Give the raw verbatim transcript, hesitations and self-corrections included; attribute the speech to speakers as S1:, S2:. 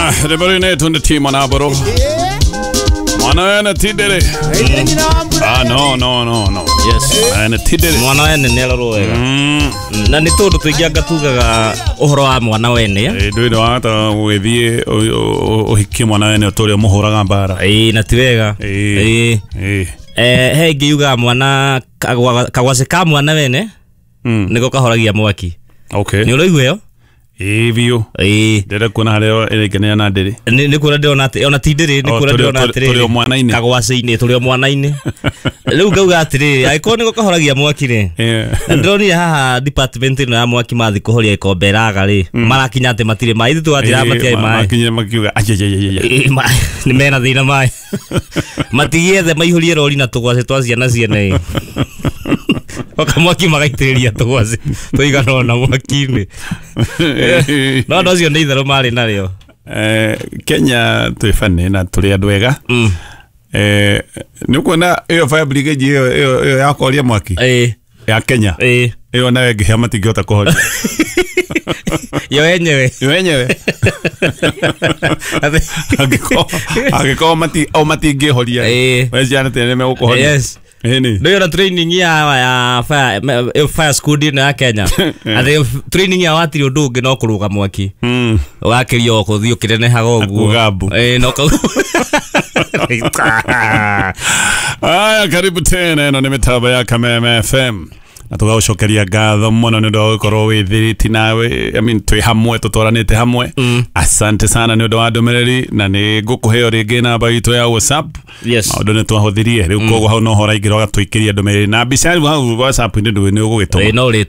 S1: Rwĩmbo rũu nĩ tunde Timo na Mbũrũ. Mwana wene ti ndĩrĩ. Ah, no no no no.
S2: Yes.
S1: Mwana wene ti ndĩrĩ.
S2: Mwana wene nĩ arorwo wega.
S1: Mm.
S2: Na nĩ tũndũ tũingĩ anga tugaga ũhoro wa mwana wene.
S1: Ĩ, ndũĩ wahota gũgĩthiĩ ũ- ũ- ũhikie mwana wene ũtũre ũmũhũraga mbara.
S2: Ĩĩ, na ti wega.
S1: Ĩĩ.
S2: Ĩĩ.
S1: Ĩ.
S2: Eh, he ĩngĩ yugaga mwana kagwa- kagwacĩ ka mwana wene
S1: Mm.
S2: nĩko kahoragia mwaki.
S1: Okay.
S2: Nĩ ũraigua ĩyo?
S1: Ĩ, biũ.
S2: Ĩĩ.
S1: Ndĩrenda kuona harĩa ĩrĩnganĩra na ndĩrĩ.
S2: Nĩ nĩ kuona ndĩrona atĩ ona ti ndĩrĩ, nĩ
S1: Oh,
S2: kuona
S1: tũrĩ-
S2: ndĩrona
S1: tũrĩ-
S2: atĩrĩrĩ,
S1: tũrĩ o mwana-inĩ.
S2: Kagwacĩ-inĩ, tũrĩ o mwana-inĩ. Rĩu ngauga atĩrĩrĩ, angĩkorwo nĩko kahoragia mwaki rĩ,
S1: Ĩ.
S2: na ndĩronire haha department ĩno ya mwaki mathiĩ kũhoria gĩkombe ĩraga rĩ, marakinya atĩ matirĩ maĩ. Ithuĩ tũgatira
S1: Ĩ,
S2: matiarĩ
S1: ma-
S2: maĩ.
S1: makinyire makiuga ajajajaja.
S2: Ĩ, ma- nĩ mena thĩna maĩ. Matigiethe maihũrie rori na tũgwacĩ twa ciana ciene ĩ. Oka mwaki magaitĩrĩria tũgwacĩ tũigana ũna mwaki-inĩ. No andũ acio nĩ itherũ marĩ narĩo.
S1: Eh, Kenya twĩ bani na tũrĩ andũ ega.
S2: Mm.
S1: Eh, nĩ ũkuona ĩyo fire brigade ĩyo ĩyo ĩyo ya kũhoria mwaki
S2: Ĩ.
S1: ya Kenya,
S2: Ĩ.
S1: ĩyo nayo ĩngĩhĩa matingĩhota kũhoria.
S2: Yo yenyewe.
S1: Yo yenyewe. Angĩkorwo angĩkorwo mati o matingĩhoria,
S2: Ĩ.
S1: we ciana tene nĩ megũkũhoria.
S2: Yes.
S1: Ĩni.
S2: Nĩ ona training ya ya fire me- fire squad ĩno ya Kenya, atĩ training ya watirĩ ũndũ ũngĩ no kũrũga mwaki.
S1: Mm.
S2: Ũgakĩria o kũthiĩ ũkĩnenehaga ũguo.
S1: Kuga mbu.
S2: Ĩ, no kau.
S1: Aya, karibu tena, ĩno nĩ mĩtambo ya Kameme F M na tũgagũcokeria ngatho mũno nĩ ũndũ wa gũkorwo wĩthirĩti nawe, I mean, twĩ hamwe, tũtwaranĩte hamwe. Asante sana nĩ ũndũ wa ndũmĩrĩri, na nĩ ngũkũheo rĩngĩ namba itũ ya WhatsApp.
S2: Yes.
S1: Maũndũ nĩ twahũthirie rĩu, koguo hau no ho ũraingĩra ũgatũikĩria ndũmĩrĩri na mbica. Rĩu hau WhatsApp-inĩ ndũĩ nĩ ũgũgĩtũma.
S2: Ĩ, no ũrĩtũma.